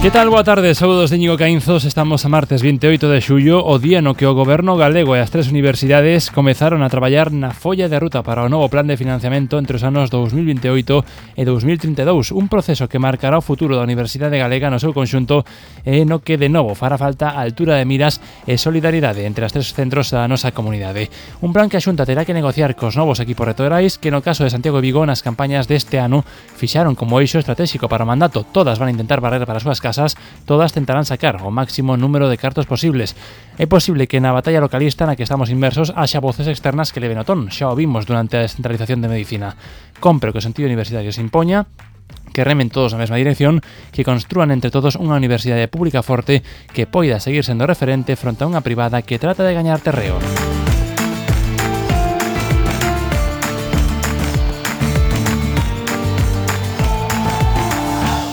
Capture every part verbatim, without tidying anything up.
Que tal? Boa tarde, saúdos de Íñigo Caínzos. Estamos a martes vinte e oito de xullo, o día no que o Goberno galego e as tres universidades comezaron a traballar na folla de ruta para o novo plan de financiamento entre os anos dous mil vinte e oito e dous mil trinta e dous, un proceso que marcará o futuro da Universidade Galega no seu conxunto e no que de novo fará falta a altura de miras e solidaridade entre as tres centros da nosa comunidade. Un plan que a Xunta terá que negociar cos novos equipos rectorais que no caso de Santiago e Vigo nas campañas deste ano fixaron como eixo estratégico para o mandato. Todas van a intentar barrer para as súas casas, todas tentarán sacar o máximo número de cartos posibles. É posible que na batalla localista na que estamos inmersos haxa voces externas que leven o ton. Xa o vimos durante a descentralización de medicina. Compre que o sentido universitario se impoña, que remen todos na mesma dirección, que construan entre todos unha universidade pública forte que poida seguir sendo referente fronte a unha privada que trata de gañar terreo.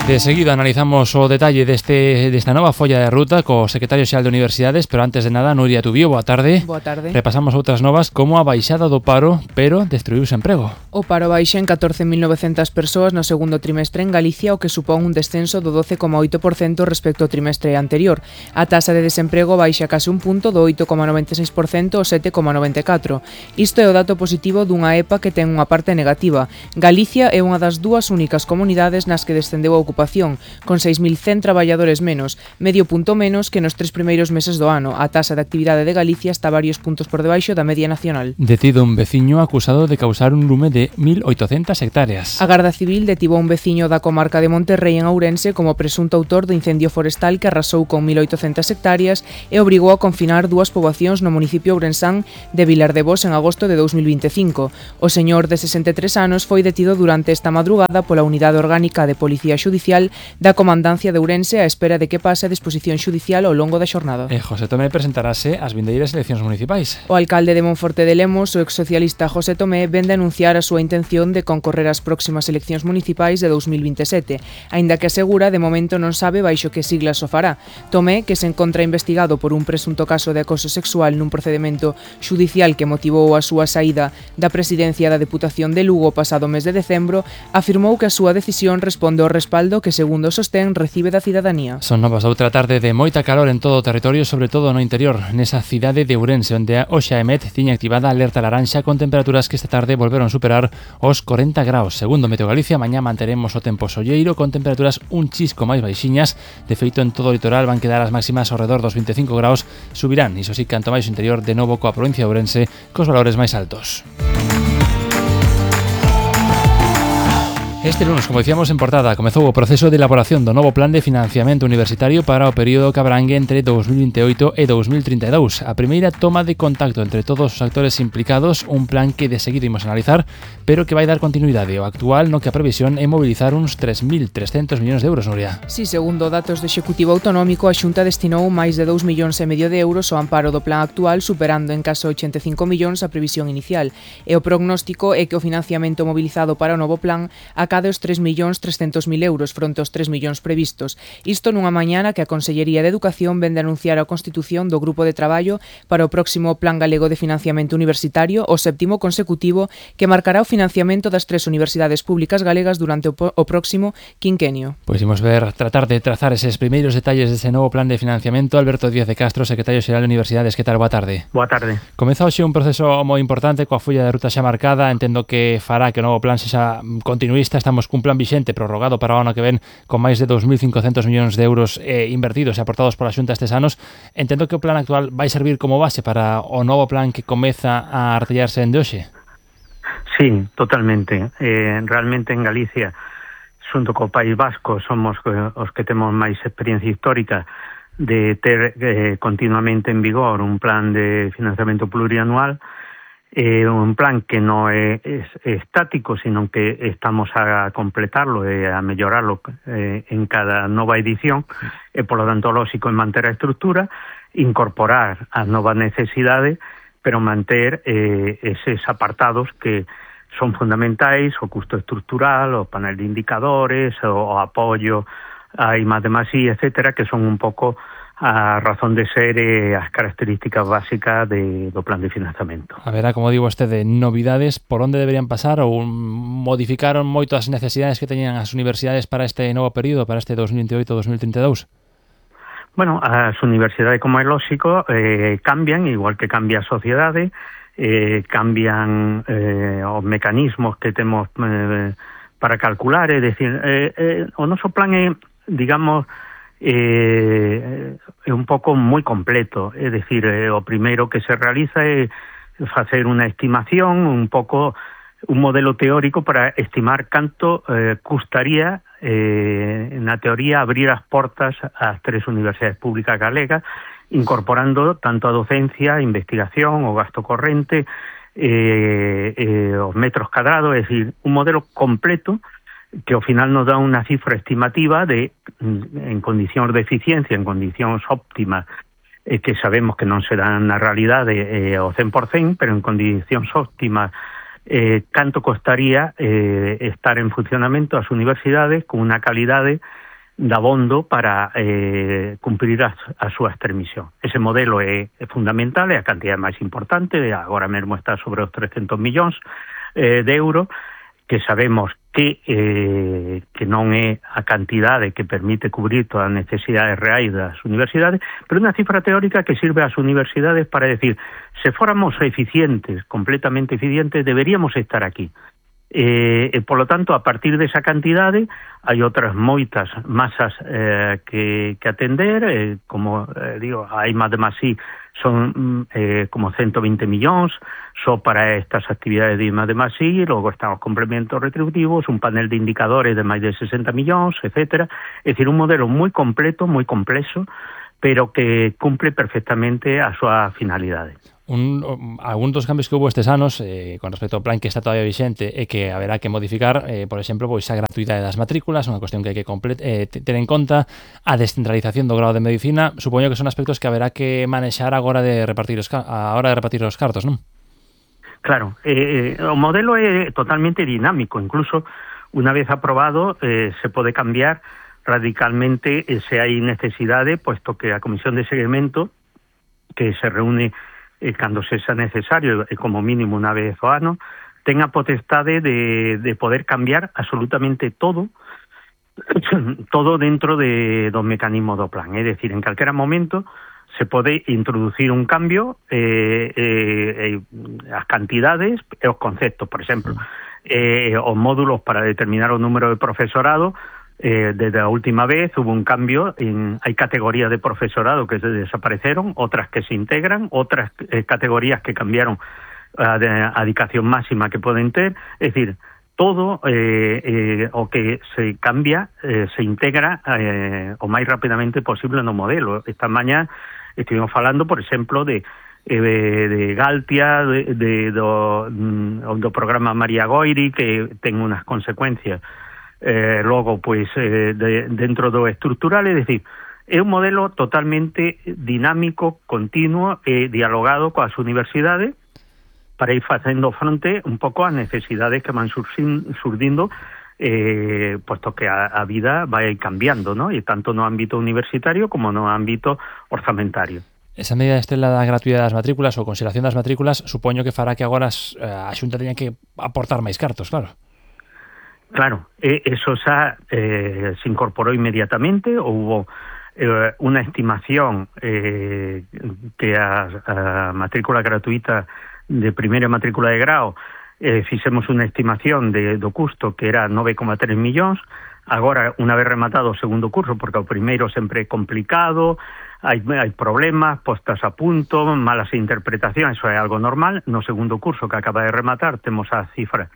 De seguido analizamos o detalle deste, desta nova folla de ruta co secretario xeral de Universidades, pero antes de nada, Nuria Tubío, boa tarde. Boa tarde. Repasamos outras novas como a baixada do paro, pero destruíuse emprego. O paro baixa en catorce mil novecentas persoas no segundo trimestre en Galicia, o que supón un descenso do doce coma oito por cento respecto ao trimestre anterior. A taxa de desemprego baixa case un punto do oito coma noventa e seis por cento ao sete coma noventa e catro por cento. Isto é o dato positivo dunha E P A que ten unha parte negativa. Galicia é unha das dúas únicas comunidades nas que descendeu a ocupación, con seis mil cen traballadores menos, medio punto menos que nos tres primeiros meses do ano. A taxa de actividade de Galicia está varios puntos por debaixo da media nacional. Detido un veciño acusado de causar un lume de mil oitocentas hectáreas. A Garda Civil detivo a un veciño da comarca de Monterrei en Ourense como presunto autor do incendio forestal que arrasou con mil oitocentas hectáreas e obrigou a confinar dúas poboacións no municipio ourensán de Vilar de Bos en agosto de dous mil vinte e cinco. O señor de sesenta e tres anos foi detido durante esta madrugada pola Unidade Orgánica de Policía Xudicial da Comandancia de Ourense á espera de que pase a disposición xudicial ao longo da xornada. E José Tomé presentarase ás vindeiras eleccións municipais. O alcalde de Monforte de Lemos, o exsocialista José Tomé, vén de anunciar a súa intención de concorrer ás próximas eleccións municipais de dous mil vinte e sete, aínda que asegura de momento non sabe baixo que siglas o fará. Tomé, que se encontra investigado por un presunto caso de acoso sexual nun procedemento xudicial que motivou a súa saída da presidencia da Deputación de Lugo pasado mes de decembro, afirmou que a súa decisión responde ao respaldo que, segundo o sostén, recibe da cidadanía. Son novas outra tarde de moita calor en todo o territorio, sobre todo no interior, nesa cidade de Ourense, onde a Oxa Emet tiña activada a alerta laranxa con temperaturas que esta tarde volveron superar os corenta graus. Segundo Meteo Galicia, mañá manteremos o tempo solleiro con temperaturas un chisco máis baixiñas. De feito, en todo o litoral van quedar as máximas ao redor dos vinte e cinco graus, subirán, iso sí, canto máis o interior, de novo coa provincia de Ourense, cos valores máis altos. Este lunes, como dicíamos en portada, comezou o proceso de elaboración do novo plan de financiamento universitario para o período que abrangue entre dous mil vinte e oito e dous mil trinta e dous. A primeira toma de contacto entre todos os actores implicados, un plan que de seguir imos analizar, pero que vai dar continuidade ao actual, no que a previsión é mobilizar uns tres mil trescentos millóns de euros, Nuria. Si, segundo datos do Executivo Autonómico, a Xunta destinou máis de dous millóns e medio de euros ao amparo do plan actual, superando en caso ochenta e cinco millóns a previsión inicial. E o prognóstico é que o financiamento mobilizado para o novo plan acaba de os tres millóns trescentos mil euros fronte aos tres millóns previstos. Isto nunha mañana que a Consellería de Educación vén de anunciar a constitución do Grupo de Traballo para o próximo Plan Galego de Financiamento Universitario, o séptimo consecutivo, que marcará o financiamento das tres universidades públicas galegas durante o, o próximo quinquenio. Pois imos ver, tratar de trazar eses primeiros detalles dese novo plan de financiamento. Alberto Díaz de Castro, secretario xeral de Universidades, que tal? Boa tarde. Boa tarde. Comeza hoxe un proceso moi importante coa folla de ruta xa marcada. Entendo que fará que o novo plan sexa continuista. Estamos cun plan vixente prorrogado para o ano que ven con máis de dous mil cincocentos millóns de euros eh, invertidos e aportados pola Xunta estes anos. Entendo que o plan actual vai servir como base para o novo plan que comeza a artellarse en de hoxe. Sí, totalmente. Eh, realmente en Galicia, xunto co País Vasco, somos os que temos máis experiencia histórica de ter eh, continuamente en vigor un plan de financiamento plurianual. Eh, un plan que non é, é estático, sino que estamos a completarlo e a mellorarlo eh, en cada nova edición, e polo tanto lógico en manter a estrutura, incorporar as novas necesidades, pero manter eh, eses apartados que son fundamentais, o custo estrutural, o panel de indicadores, o, o apoio a I más D más I, etcétera, que son un pouco a razón de ser e as características básicas de, do plan de financiamento. A ver, como digo vostede, novidades, por onde deberían pasar ou modificaron moito as necesidades que teñan as universidades para este novo período, para este dos mil veintioito dos mil trinta e dous? Bueno, as universidades, como é lógico, eh, cambian, igual que cambia a sociedade, eh, cambian eh, os mecanismos que temos eh, para calcular, é dicir, eh, eh, o noso plan é, digamos, eh, é un pouco moi completo, é dicir, eh, o primeiro que se realiza é facer unha estimación, un pouco un modelo teórico para estimar canto eh, custaría eh, na teoría abrir as portas ás tres universidades públicas galegas, incorporando tanto a docencia, a investigación, o gasto corrente, eh, eh, os metros cadrados, é dicir, un modelo completo que ao final nos dá unha cifra estimativa de, en condicións de eficiencia, en condicións óptimas, eh, que sabemos que non serán na realidade eh, ao cen por cen, pero en condicións óptimas, eh, canto costaría eh, estar en funcionamento as universidades con unha calidade dabondo para eh, cumprir as, as súas tres misións. Ese modelo é, é fundamental, é a cantidade máis importante, agora mesmo está sobre os trescentos millóns eh, de euros, que sabemos que eh, que non é a cantidade que permite cubrir todas as necesidades reais das universidades, pero unha cifra teórica que sirve ás universidades para decir, se fóramos eficientes, completamente eficientes, deberíamos estar aquí. Eh, e, polo tanto, a partir desa cantidade, hai outras moitas masas eh, que, que atender, eh, como eh, digo, hai máis de máis sí, son eh, como ciento veinte millóns só para estas actividades de I más D más I, logo están os complementos retributivos, un panel de indicadores de máis de sesenta millóns, etcétera. É dicir, un modelo moi completo, moi complexo, pero que cumple perfectamente a súa finalidade. Un, algún dos cambios que hubo estes anos eh, con respecto ao plan que está todavía vixente é que haberá que modificar, eh, por exemplo, pois a gratuidade das matrículas, unha cuestión que hai que complet- eh, ter en conta, a descentralización do grado de medicina. Supoño que son aspectos que haberá que manexar agora de repartir os, a hora de repartir os cartos, non? Claro, eh, o modelo é totalmente dinámico, incluso unha vez aprobado eh, se pode cambiar radicalmente eh, se hai necesidade, puesto que a Comisión de Seguimento, que se reúne eh, cando sexa necesario, e como mínimo unha vez ao ano, ten a potestade de, de poder cambiar absolutamente todo, todo dentro de, do mecanismo do plan. É dicir, en calquera momento se pode introducir un cambio, eh, eh, eh, as cantidades e os conceptos, por exemplo, eh, os módulos para determinar o número de profesorado. Eh, desde a última vez hubo un cambio, en, hai categorías de profesorado que se desapareceron, otras que se integran, otras eh, categorías que cambiaron a, a dedicación máxima que poden ter, é dicir, todo eh, eh, o que se cambia eh, se integra eh, o máis rapidamente posible no modelo. Esta mañá estivemos falando, por exemplo, de eh, de Galtia, de, de, do, do programa María Goiri, que ten unhas consecuencias Eh, logo, pois, eh, de, dentro do estructural, é dicir, é un modelo totalmente dinámico, continuo e dialogado coas universidades para ir facendo fronte un pouco ás necesidades que van surxin, surdindo, eh, puesto que a, a vida vai cambiando, ¿no? E tanto no ámbito universitario como no ámbito orzamentario. Esa medida estela da gratuidade das matrículas ou consideración das matrículas supoño que fará que agora as, a Xunta teña que aportar máis cartos, claro. Claro, eso xa eh, se incorporou inmediatamente, hubo eh, unha estimación eh, que a, a matrícula gratuita de primeira matrícula de grao eh, fixemos unha estimación de, do custo que era nove coma tres millóns. Agora, unha vez rematado o segundo curso, porque o primeiro sempre é complicado, hai, hai problemas, postas a punto, malas interpretacións, eso é algo normal. No segundo curso que acaba de rematar temos a cifra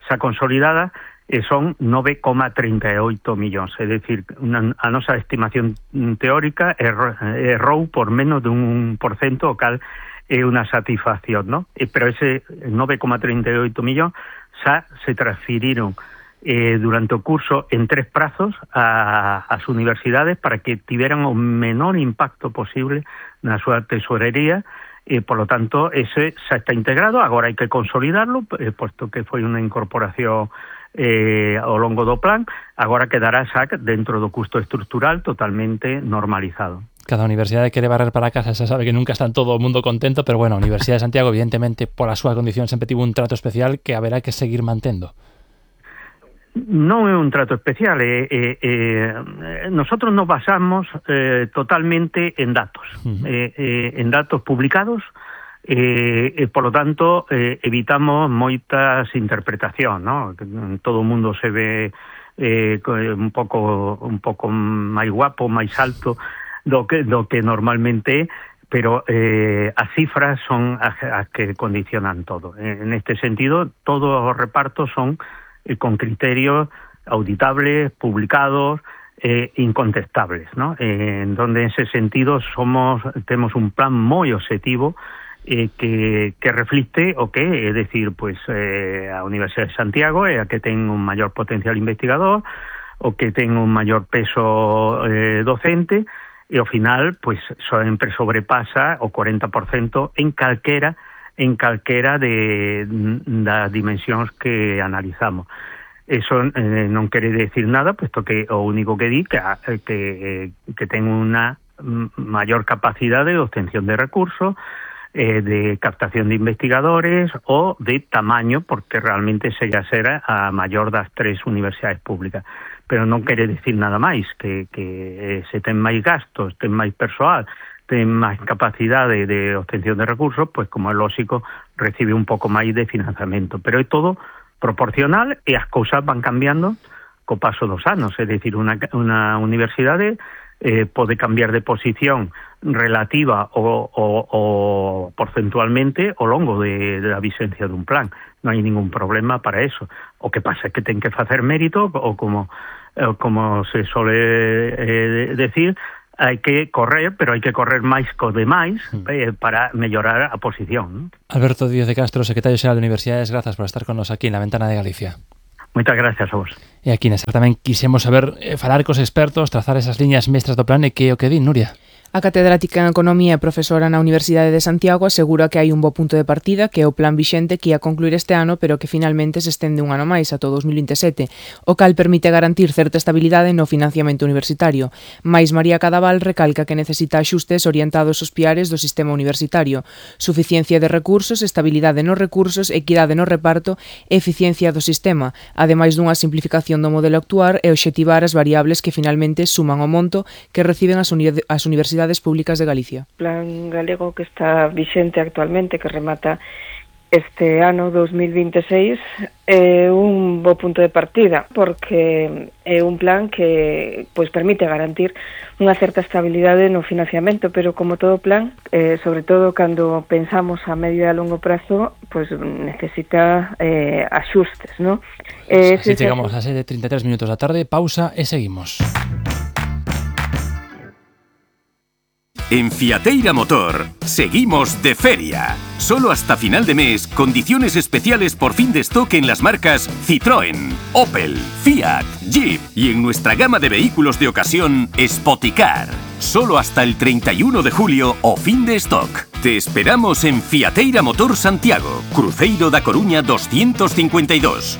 xa consolidada, e son nove coma trinta e oito millóns, é dicir, una, a nosa estimación teórica errou, errou por menos dun por cento, o cal é unha satisfacción, ¿no? E, pero ese nove coma trinta e oito millóns xa se transferiron eh, durante o curso en tres prazos a, as universidades para que tiveran o menor impacto posible na súa tesorería, e, por lo tanto, ese xa está integrado. Agora hai que consolidarlo, eh, puesto que foi unha incorporación eh, ao longo do plan. Agora quedará xa dentro do custo estructural totalmente normalizado. Cada universidade quere barrer para casa, xa sabe que nunca está en todo o mundo contento, pero bueno, a Universidade de Santiago, evidentemente, pola súa condición sempre tivo un trato especial que haberá que seguir mantendo. Non é un trato especial, eh, eh, eh, nosotros nos basamos eh, totalmente en datos, uh-huh. eh, eh, en datos publicados, eh, e, por lo tanto, eh, evitamos moitas interpretacións, ¿no? Todo o mundo se ve eh, un pouco un pouco máis guapo, máis alto do que, do que normalmente, pero eh, as cifras son as, as que condicionan todo. En este sentido, todos os repartos son con criterios auditables, publicados, eh, incontestables, ¿no? Eh, en donde en ese sentido somos tenemos un plan moi objetivo eh, que, que reflicte o que, é dicir, pues, eh, a Universidade de Santiago é a que ten un maior potencial investigador, o que ten un maior peso eh, docente, e ao final, pues, sempre sobrepasa o cuarenta por ciento en calquera en calquera de das dimensións que analizamos. Eso eh, non quere decir nada, puesto que o único que di que, que, que ten unha maior capacidade de obtención de recursos, eh, de captación de investigadores o de tamaño, porque realmente se ya será a maior das tres universidades públicas. Pero non quere decir nada máis, que, que se ten máis gastos, ten máis persoal, ten máis capacidade de obtención de recursos, pues como é lógico, recibe un pouco máis de financiamento. Pero é todo proporcional e as cousas van cambiando co paso dos anos. É dicir, unha, unha universidade eh, pode cambiar de posición relativa o, o, o porcentualmente ao longo de, de la vigencia dun plan. Non hai ningún problema para eso. O que pasa é que ten que facer mérito, o como, eh, como se sole eh, decir, hai que correr, pero hai que correr máis co demais eh, para mellorar a posición, ¿no? Alberto Díaz de Castro, secretario xeral de Universidades, grazas por estar con nos aquí en la Ventana de Galicia. Moitas gracias a vos. E aquí nesta tamén quixemos saber, eh, falar cos expertos, trazar esas liñas mestras do plan e que o que din, Nuria. A catedrática en Economía e profesora na Universidade de Santiago asegura que hai un bo punto de partida, que é o plan vixente que ia concluir este ano, pero que finalmente se estende un ano máis, ata o dos mil vinte e sete, o cal permite garantir certa estabilidade no financiamento universitario. Mais María Cadaval recalca que necesita axustes orientados aos piares do sistema universitario: suficiencia de recursos, estabilidade nos recursos, equidade no reparto e eficiencia do sistema, ademais dunha simplificación do modelo actuar e obxectivar as variables que finalmente suman o monto que reciben as, uni- as universidades públicas de Galicia. O plan galego que está vixente actualmente, que remata este ano dos mil vinte e seis, é un bo punto de partida, porque é un plan que pois permite garantir unha certa estabilidade no financiamento, pero como todo plan, eh, sobre todo cando pensamos a medio e a longo prazo, pois necesita eh, axustes, ¿no? Eh, Así chegamos a sete e trinta e tres minutos da tarde, pausa e seguimos. En Fiateira Motor, seguimos de feria. Solo hasta final de mes, condiciones especiales por fin de stock en las marcas Citroën, Opel, Fiat, Jeep y en nuestra gama de vehículos de ocasión, Spoticar. Solo hasta el treinta y uno de julio o fin de stock. Te esperamos en Fiateira Motor Santiago, Cruceiro da Coruña doscientos cincuenta y dos.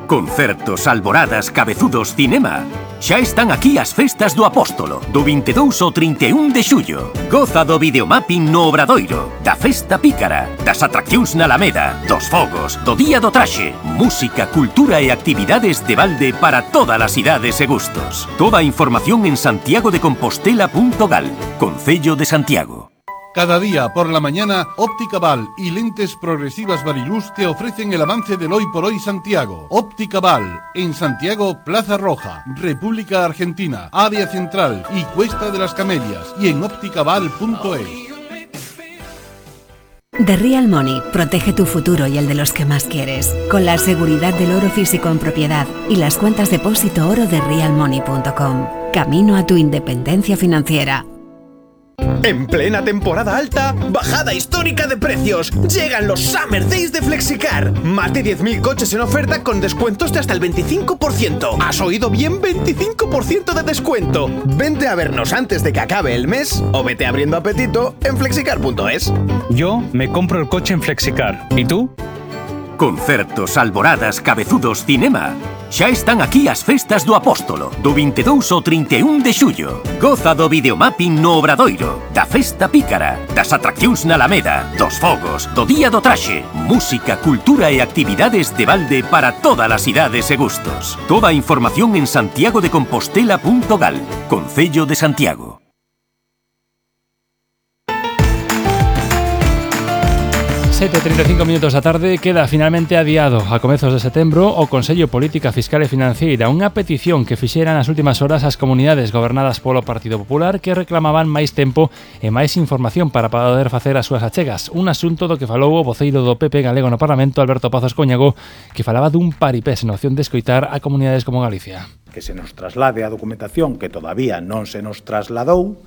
Concertos, alboradas, cabezudos, cinema. Xa están aquí as festas do Apóstolo, do vinte e dous ao trinta e un de xullo. Goza do videomapping no Obradoiro, da festa pícara, das atraccións na Alameda, dos fogos, do Día do Traxe, música, cultura e actividades de balde para todas as idades e gustos. Toda a información en santiago de compostela punto gal, Concello de Santiago. Cada día por la mañana, Óptica Val y Lentes Progresivas Variluz te ofrecen el avance del Hoy por Hoy Santiago. Óptica Val, en Santiago, Plaza Roja, República Argentina, Área Central y Cuesta de las Camelias, y en óptica val punto es. The Real Money protege tu futuro y el de los que más quieres, con la seguridad del oro físico en propiedad y las cuentas depósito oro de real money punto com. Camino a tu independencia financiera. En plena temporada alta, bajada histórica de precios. Llegan los Summer Days de Flexicar. Más de diez mil coches en oferta con descuentos de hasta el veinticinco por ciento. ¿Has oído bien? veinticinco por ciento de descuento. Vente a vernos antes de que acabe el mes o vete abriendo apetito en flexicar punto es. Yo me compro el coche en Flexicar. ¿Y tú? Concertos, alboradas, cabezudos, cinema. Xa están aquí as festas do Apóstolo, do vinte e dous ao trinta e un de xullo. Goza do videomapping no Obradoiro, da festa pícara, das atraccións na Alameda, dos fogos, do día do traxe, música, cultura e actividades de balde para todas as idades e gustos. Toda a información en santiago de compostela punto gal, Concello de Santiago. sete e trinta e cinco minutos da tarde, queda finalmente adiado a comezos de setembro o Consello Política Fiscal e Financeira, unha petición que fixeran nas últimas horas as comunidades gobernadas polo Partido Popular que reclamaban máis tempo e máis información para poder facer as súas achegas, un asunto do que falou o voceiro do P P galego no Parlamento, Alberto Pazos Coñago, que falaba dun paripés na opción de escoitar a comunidades como Galicia. Que se nos traslade a documentación que todavía non se nos trasladou,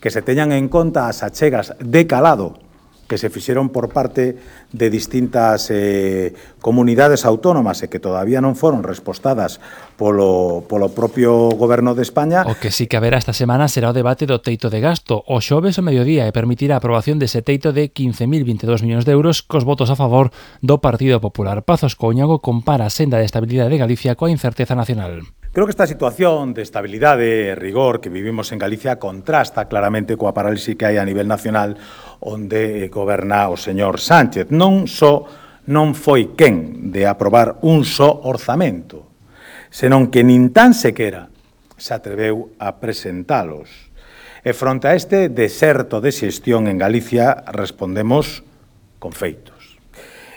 que se teñan en conta as achegas de calado que se fixeron por parte de distintas eh, comunidades autónomas e que todavía non foron respostadas polo, polo propio Goberno de España. O que sí que haberá esta semana será o debate do teito de gasto, o xoves ao mediodía, e permitirá a aprobación dese teito de quince mil veintidós millóns de euros cos votos a favor do Partido Popular. Pazos Coñago compara a senda de estabilidade de Galicia coa incerteza nacional. Creo que esta situación de estabilidade e rigor que vivimos en Galicia contrasta claramente coa parálisis que hai a nivel nacional onde goberna o señor Sánchez. Non só non foi quen de aprobar un só orzamento, senón que nin tan sequera se atreveu a presentalos. E fronte a este deserto de xestión en Galicia respondemos con feitos.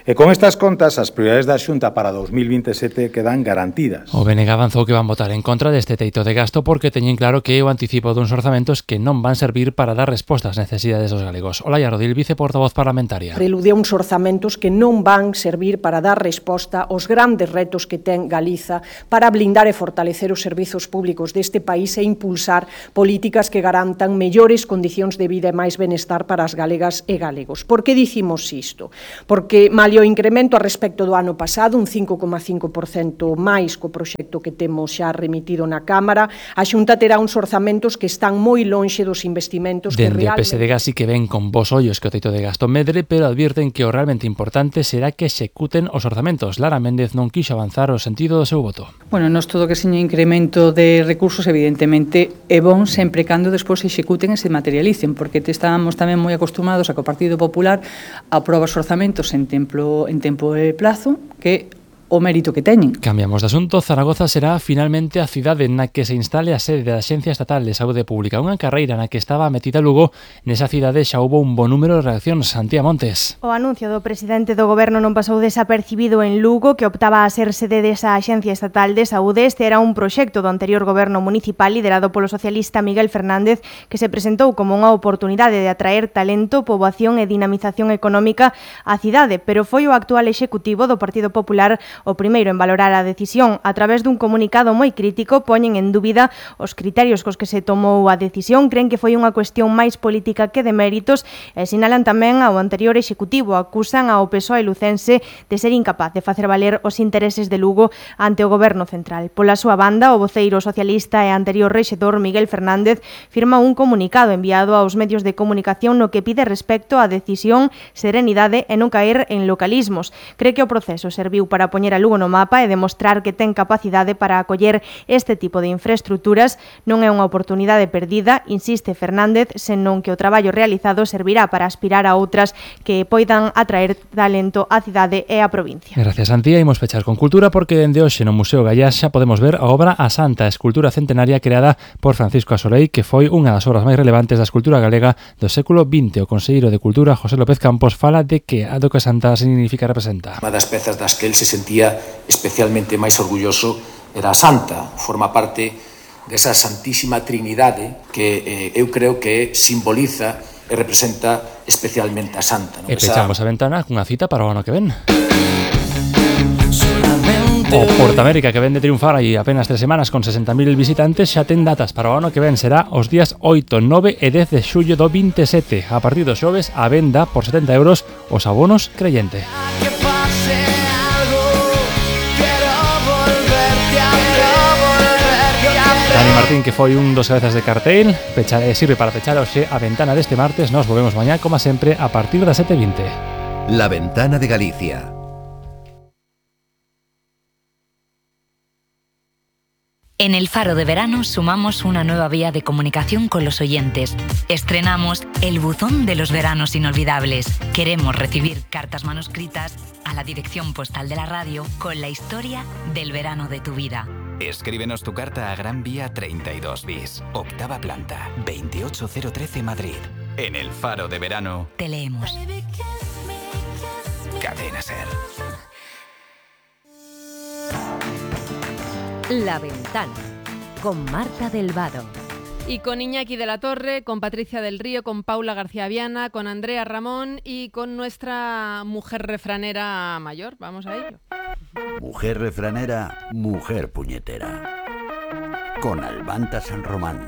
E con estas contas, as prioridades da Xunta para dos mil vinte e sete quedan garantidas. O B N G avanzou que van votar en contra deste teito de gasto porque teñen claro que é o anticipo duns orzamentos que non van servir para dar resposta ás necesidades dos galegos. Olaia Rodil, viceportavoz parlamentaria. Prelude uns orzamentos que non van servir para dar resposta aos grandes retos que ten Galiza para blindar e fortalecer os servizos públicos deste país e impulsar políticas que garantan mellores condicións de vida e máis benestar para as galegas e galegos. Por que dicimos isto? Porque, mal o incremento a respecto do ano pasado, un cinco coma cinco por cento máis co proxecto que temos xa remitido na Cámara, a Xunta terá uns orzamentos que están moi lonxe dos investimentos que realmente... Dende o P S D G así que ven con bos ollos que o teito de gasto medre, pero advirten que o realmente importante será que executen os orzamentos. Lara Méndez non quixo avanzar o sentido do seu voto. Bueno, nos todo que seña incremento de recursos, evidentemente, é bon sempre cando despois se executen e se materialicen, porque te estábamos tamén moi acostumados a que o Partido Popular aproba os orzamentos en templo en tempo e plazo que o mérito que teñen. Cambiamos de asunto. Zaragoza será finalmente a cidade na que se instale a sede da Axencia Estatal de Saúde Pública, unha carreira na que estaba metida Lugo. Nesa cidade xa houbo un bo número de reaccións. Antía Montes. O anuncio do presidente do Goberno non pasou desapercibido en Lugo, que optaba a ser sede desa Axencia Estatal de Saúde. Este era un proxecto do anterior Goberno municipal liderado polo socialista Miguel Fernández, que se presentou como unha oportunidade de atraer talento, poboación e dinamización económica á cidade, pero foi o actual executivo do Partido Popular o primeiro en valorar a decisión. A través dun comunicado moi crítico poñen en dúbida os criterios cos que se tomou a decisión, creen que foi unha cuestión máis política que de méritos e sinalan tamén ao anterior executivo, acusan ao P S O E lucense de ser incapaz de facer valer os intereses de Lugo ante o Goberno central. Pola súa banda, o voceiro socialista e anterior rexedor Miguel Fernández firma un comunicado enviado aos medios de comunicación no que pide respecto á decisión, serenidade e non caer en localismos. Cree que o proceso serviu para poñer a Lugo no mapa e demostrar que ten capacidade para acoller este tipo de infraestructuras. Non é unha oportunidade perdida, insiste Fernández, senón que o traballo realizado servirá para aspirar a outras que poidan atraer talento á cidade e á provincia. Gracias, Antía. Imos pechar con cultura porque dende hoxe no Museo Gallás xa podemos ver a obra A Santa, escultura centenaria creada por Francisco Asolei, que foi unha das obras máis relevantes da escultura galega do século vinte. O conselleiro de Cultura, José López Campos, fala de que a do que a Santa significa e representa. Unha das pezas das que el se sentía especialmente máis orgulloso era a Santa, forma parte desa Santísima Trinidade que eh, eu creo que simboliza e representa especialmente a Santa. No? E pechamos a ventana cunha cita para o ano que ven. O Porta América, que ven de triunfar aí apenas tres semanas con sesenta mil visitantes, xa ten datas para o ano que ven. Será os días oito, nove e dez de xullo do vinte e sete. A partir dos xoves, a venda por setenta euros os abonos creyente. Dani Martín, que foi un dos cabezas de cartel, pecha, eh, sirve para pechar hoxe a ventana deste martes. Nos volvemos mañá, como sempre, a partir das sete e vinte. La Ventana de Galicia. En El Faro de Verano sumamos una nueva vía de comunicación con los oyentes. Estrenamos el buzón de los veranos inolvidables. Queremos recibir cartas manuscritas a la dirección postal de la radio con la historia del verano de tu vida. Escríbenos tu carta a Gran Vía treinta y dos bis, octava planta, veintiocho cero trece Madrid. En El Faro de Verano te leemos. Cadena Ser. La Ventana, con Marta del Vado. Y con Iñaki de la Torre, con Patricia del Río, con Paula García Viana, con Andrea Ramón y con nuestra mujer refranera mayor. Vamos a ello. Mujer refranera, mujer puñetera. Con Albanta San Román.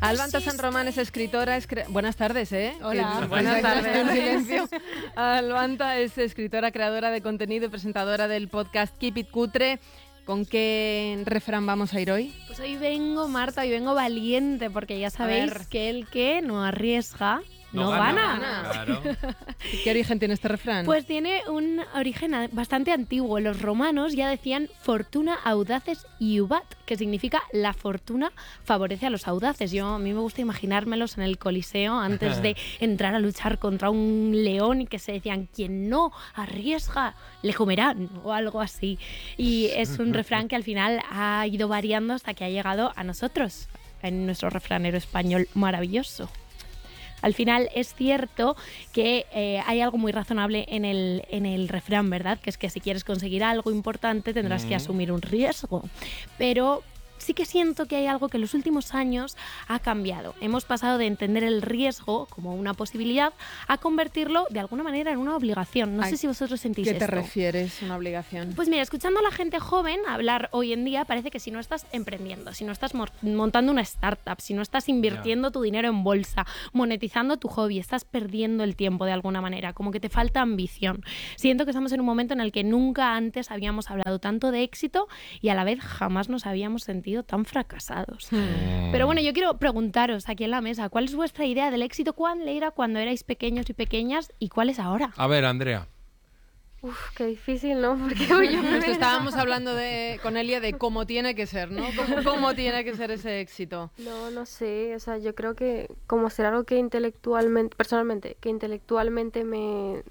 Albanta San Román es escritora. Es cre... Buenas tardes, ¿eh? Hola. Que... Buenas tardes. Silencio. Albanta es escritora, creadora de contenido y presentadora del podcast Keep It Cutre. ¿Con qué refrán vamos a ir hoy? Pues hoy vengo, Marta, hoy vengo valiente, porque ya sabéis que el que no arriesga no, no gana. gana. Claro. ¿Qué origen tiene este refrán? Pues tiene un origen bastante antiguo. Los romanos ya decían fortuna audaces iubat, que significa la fortuna favorece a los audaces. Yo a mí me gusta imaginármelos en el Coliseo antes de entrar a luchar contra un león y que se decían quien no arriesga le comerán o algo así. Y es un refrán que al final ha ido variando hasta que ha llegado a nosotros, en nuestro refranero español maravilloso. Al final es cierto que eh, hay algo muy razonable en el, en el refrán, ¿verdad? Que es que si quieres conseguir algo importante tendrás mm. que asumir un riesgo. Pero sí que siento que hay algo que en los últimos años ha cambiado. Hemos pasado de entender el riesgo como una posibilidad a convertirlo de alguna manera en una obligación. No Ay, sé si vosotros sentís esto. ¿Qué te refieres, una obligación? Pues mira, escuchando a la gente joven hablar hoy en día, parece que si no estás emprendiendo, si no estás montando una startup, si no estás invirtiendo yeah. tu dinero en bolsa, monetizando tu hobby, estás perdiendo el tiempo de alguna manera, como que te falta ambición. Siento que estamos en un momento en el que nunca antes habíamos hablado tanto de éxito y a la vez jamás nos habíamos sentido tan fracasados. Hmm. Pero bueno, yo quiero preguntaros aquí en la mesa, ¿cuál es vuestra idea del éxito? ¿Cuál era cuando erais pequeños y pequeñas y cuál es ahora? A ver, Andrea. Uf, qué difícil, ¿no? Porque yo Esto estábamos hablando de, con Elia de cómo tiene que ser, ¿no? ¿Cómo, cómo tiene que ser ese éxito? No, no sé, o sea, yo creo que como ser algo que intelectualmente, personalmente, que intelectualmente me,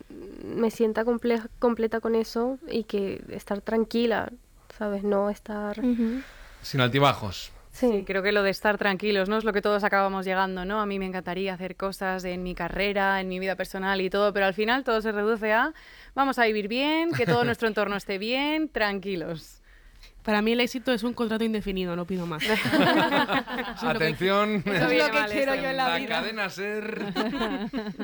me sienta comple- completa con eso y que estar tranquila, ¿sabes? No estar... Uh-huh. Sin altibajos. Sí. sí, creo que lo de estar tranquilos, ¿no? Es lo que todos acabamos llegando, ¿no? A mí me encantaría hacer cosas en mi carrera, en mi vida personal y todo, pero al final todo se reduce a vamos a vivir bien, que todo nuestro entorno esté bien, tranquilos. Para mí el éxito es un contrato indefinido, no pido más. Atención, eso es lo que quiero yo en la, la vida. Cadena Ser.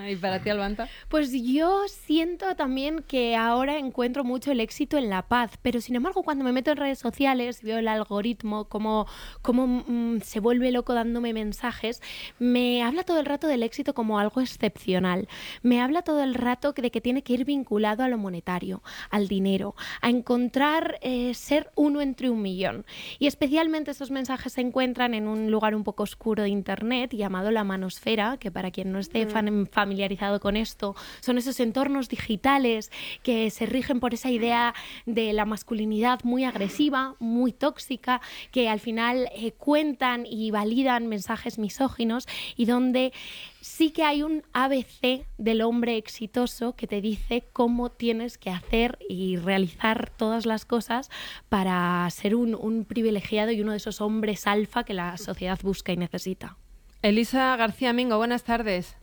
¿Y para ti, Albanta? Pues yo siento también que ahora encuentro mucho el éxito en la paz, pero sin embargo cuando me meto en redes sociales, veo el algoritmo, cómo, cómo mmm, se vuelve loco dándome mensajes, me habla todo el rato del éxito como algo excepcional. Me habla todo el rato de que tiene que ir vinculado a lo monetario, al dinero, a encontrar eh, ser uno entre un millón. Y especialmente estos mensajes se encuentran en un lugar un poco oscuro de internet llamado la manosfera, que para quien no esté mm. familiarizado con esto, son esos entornos digitales que se rigen por esa idea de la masculinidad muy agresiva, muy tóxica, que al final eh, cuentan y validan mensajes misóginos y donde sí que hay un A B C del hombre exitoso que te dice cómo tienes que hacer y realizar todas las cosas para ser un, un privilegiado y uno de esos hombres alfa que la sociedad busca y necesita. Elisa García Mingo, buenas tardes.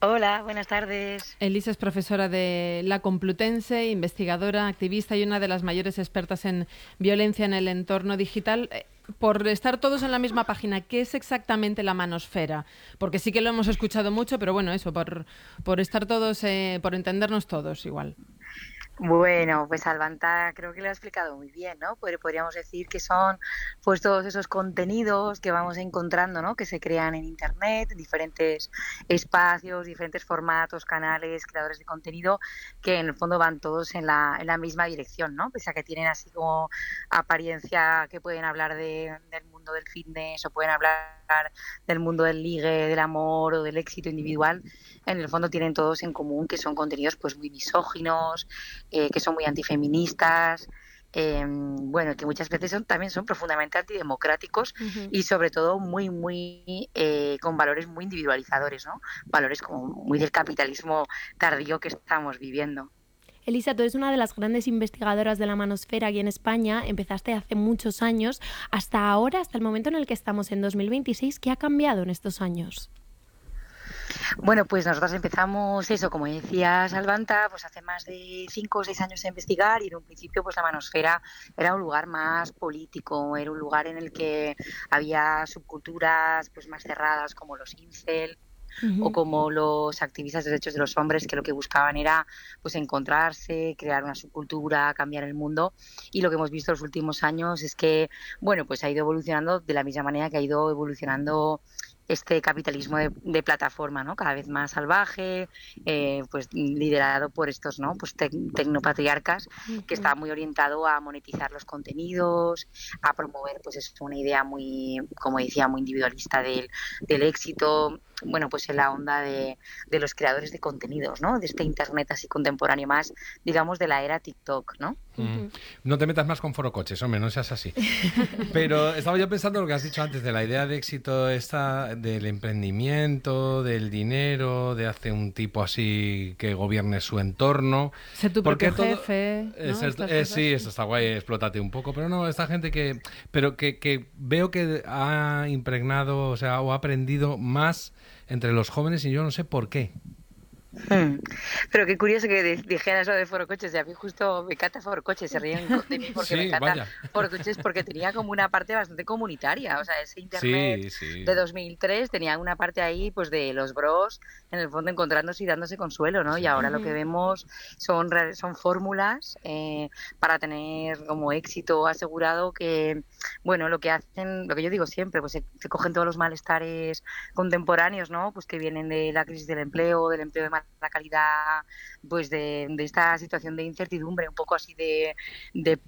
Hola, buenas tardes. Elisa es profesora de la Complutense, investigadora, activista y una de las mayores expertas en violencia en el entorno digital. Por estar todos en la misma página, ¿qué es exactamente la manosfera? Porque sí que lo hemos escuchado mucho, pero bueno, eso, por, por estar todos, eh, por entendernos todos igual. Bueno, pues Albanta creo que lo ha explicado muy bien, ¿no? Podríamos decir que son pues todos esos contenidos que vamos encontrando, ¿no? Que se crean en Internet, en diferentes espacios, diferentes formatos, canales, creadores de contenido, que en el fondo van todos en la, en la misma dirección, ¿no? Pese a que tienen así como apariencia que pueden hablar de, del mundo del fitness o pueden hablar del mundo del ligue, del amor o del éxito individual, en el fondo tienen todos en común que son contenidos pues muy misóginos, Eh, que son muy antifeministas, eh, bueno, que muchas veces son, también son profundamente antidemocráticos uh-huh. y sobre todo muy, muy, eh, con valores muy individualizadores, ¿no? Valores como muy del capitalismo tardío que estamos viviendo. Elisa, tú eres una de las grandes investigadoras de la manosfera aquí en España, empezaste hace muchos años, hasta ahora, hasta el momento en el que estamos en dos mil veintiséis, ¿qué ha cambiado en estos años? Bueno, pues nosotros empezamos eso, como decía Salvanta, pues hace más de cinco o seis años a investigar y en un principio pues la manosfera era un lugar más político, era un lugar en el que había subculturas pues más cerradas como los incel, Uh-huh. o como los activistas de derechos de los hombres que lo que buscaban era pues encontrarse, crear una subcultura, cambiar el mundo y lo que hemos visto en los últimos años es que bueno pues ha ido evolucionando de la misma manera que ha ido evolucionando este capitalismo de, de plataforma, ¿no? Cada vez más salvaje, eh, pues liderado por estos, ¿no? Pues te, tecnopatriarcas, uh-huh. que está muy orientado a monetizar los contenidos, a promover, pues es una idea muy, como decía, muy individualista del, del éxito, bueno, pues en la onda de, de los creadores de contenidos, ¿no? De este internet así contemporáneo más, digamos, de la era TikTok, ¿no? Mm. No te metas más con forocoches, hombre, no seas así. Pero estaba yo pensando lo que has dicho antes de la idea de éxito esta del emprendimiento, del dinero, de hacer un tipo así que gobierne su entorno. Sé tu propio jefe, ¿no? Es, es, es, sí, eso está guay, explótate un poco, pero no, esta gente que pero que, que veo que ha impregnado, o sea, o ha aprendido más entre los jóvenes y yo no sé por qué. Hmm. Pero qué curioso que dijeras lo de forocoches, y a mí justo me encanta forocoches, se ríen de mí porque sí, me encanta forocoches porque tenía como una parte bastante comunitaria, o sea, ese internet sí, sí. de dos mil tres tenía una parte ahí pues de los bros, en el fondo encontrándose y dándose consuelo, ¿no? Sí. Y ahora lo que vemos son, son fórmulas eh, para tener como éxito asegurado que, bueno, lo que hacen, lo que yo digo siempre, pues se, se cogen todos los malestares contemporáneos, ¿no? Pues que vienen de la crisis del empleo, del empleo de la calidad, pues de, de esta situación de incertidumbre, un poco así de, de